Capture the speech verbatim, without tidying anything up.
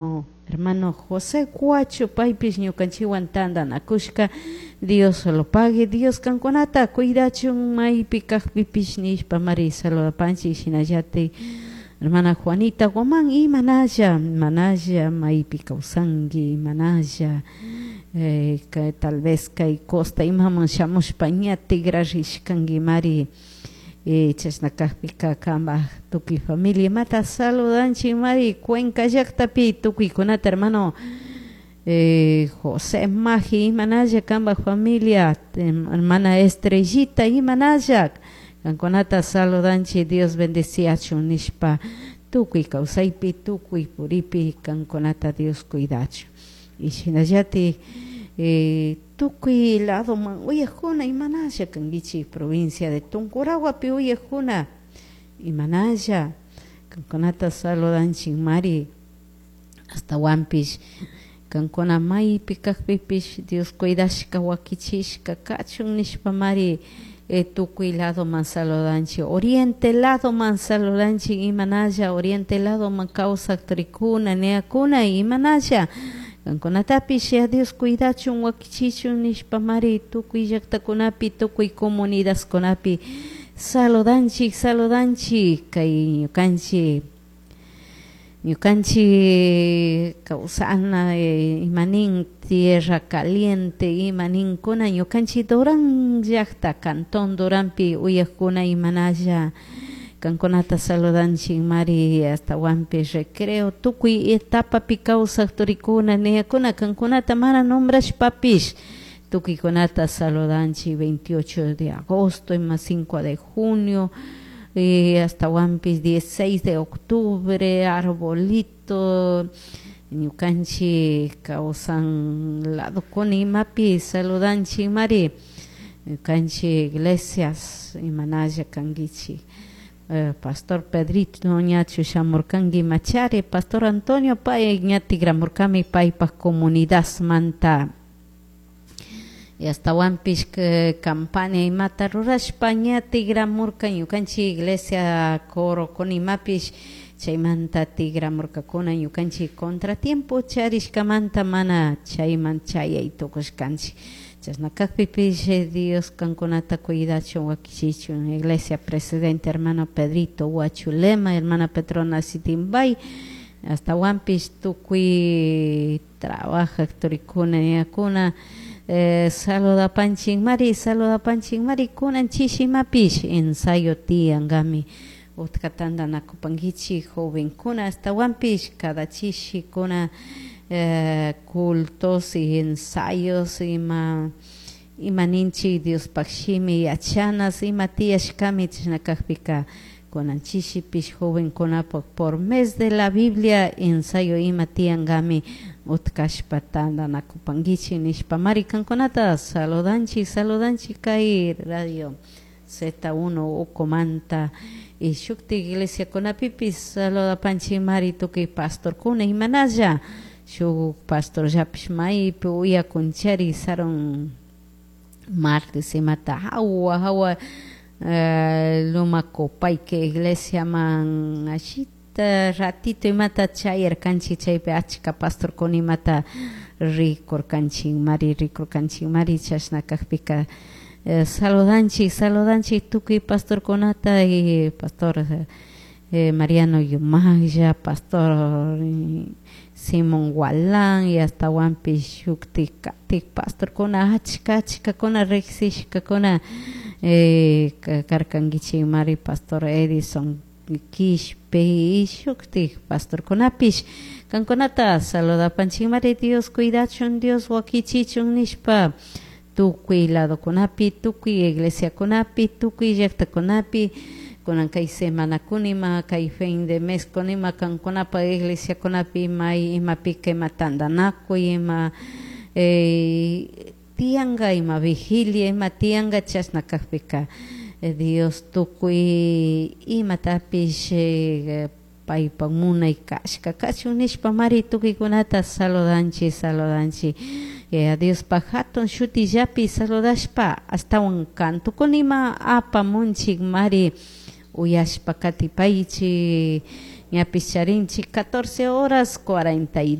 Hermano José Cuacho paypish ñukanchikwan tantanakushka Dios lo pague, Dios kankunata cuidachun maypi kakpipish nishpa mari saludapanchik. Shinallatik hermana Juanita Guamán, imanalla, imanalla, maypi kawsanki, imanalla, eh, tal vez kay costa imaman shamushpa ña tigrarishkanki mari, eh, chashna kakpika kanpak tukuy familia imata saludanchik mari. Cuenca llaktapi tukuykunata, hermano eh, José Maji, imanalla kanpak familia, hermana Estrellita, imanalla, kankunata saludanchik, Dios bendeciachun nishpa, tukuy kawsaypi, tukuy puripi kankunata Dios cuidachun. Y shinallatik eh, tukuy ladoman uyakuna, imanalla kankichik, provincia de Tungurahuapi uyakuna, imanalla, kankunata saludanchik mari. Ashtawanpish kankuna maypi kakpipish Dios cuidashka wakichishka kachun nishpa mari, eh, tukuy ladoman saludanchik. Oriente ladoman saludanchik, imanalla, oriente ladoman kawsak turikuna niyakuna, imanalla, kankunatapish ya Dios cuidachun wakichichun nishpa mari, tukuy llaktakunapi, tukuy comunidadkunapi saludanchik, saludanchik. Kay ñukanchik ñukanchik kawsana, eh, imanin tierra caliente imaninkuna, ñukanchik Durán llakta, cantón Duranpi uyakuna, imanalla, kankunata saludanchik mari. Ashtawanpish Recreo tukuy etapapi kawsak turikuna niyakuna, kankunata mana nombrashpapish tukuykunata saludanchik. veintiocho de agosto ima cinco de junio, eh, ashtawanpish dieciséis de octubre, arbolito, ñukanchik kawsan ladokuna imapi saludanchik mari. Ñukanchik iglesias, imanalla kankichik, eh, pastor Pedrito ñachu shamurkanki machari, pastor Antonio pay ña tigramurkami paypak comunidadmanta, y ashtawanpish campaña imata rurashpa ña tigramurka ñukanchik iglesia coro con imapish chaymanta tigramurkakuna. Ñukanchik contratiempo charishkamanta mana chayman chayay tukushkanchik. Chashna kakpipish Dios kankunata cuidachun wakichichun. Iglesia presidente hermano Pedrito Huachulema, hermana Petrona Sitimbay, ashtawanpish tukuy trabajak turikuna niyakuna, eh, saludapanchik mari, saludapanchik mari. Kunan chishimapish ensayo tiyankami, utka tantanakupankichik jovenkuna, ashtawanpish cada chishikuna eh, cultos y ensayos ima ima ninchik Diospak shimi yachanas ima tiyashkami. Chashna kakpika kunan chishipish jovenkunapak por mes de la Biblia ensayo ima tiyankami, utkashpa tantanakupankichik nishpa mari kankunata saludanchik, saludanchik kay radio Z uno ukumanta. Y shuktik iglesiakunapipish saludapanchik mari, tukuy pastorkuna, imanalla, shuk pastorllapish maypi uyakunchari sarun martes imata hawa hawa, eh, Luma Copaique iglesiaman ashita ratito imata chayarkanchik, chaypi achka pastorkuna imata rikurkanchik mari, rikurkanchik mari. Chashna kakpika eh, saludanchik, saludanchik tukuy pastorkunata, y pastor eh, Mariano Yumaya, pastor eh, Simón Gualán, y ashtawanpish shuktik katik pastorkuna achka achkakuna riksishkakuna eh, karkankichik mari, pastor Edison Quishpe y shuktik pastorkunapish kankunata saludapanchik mari. Dios cuidachun, Dios wakichichun nishpa tukuy ladokunapi, tukuy iglesiakunapi, tukuy llaktakunapi. Kunan kay semanakuna ima kay fin de mes kuna ima kankunapa iglesiakunapi may imapika ima tantanakuy ima eh, tiyanka, ima vigilia ima tiyanka. Chashna kakpika eh, Dios tukuy imatapish eh, paypak munay kashka kachun nishpa mari tukuykunata saludanchik, saludanchik. Yaya Diospak hatun shutillapi saludashpa ashtawan kantukuna ima apamunchik mari, uyashpa katipaychik. Ñapish charinchik catorce horas cuarenta y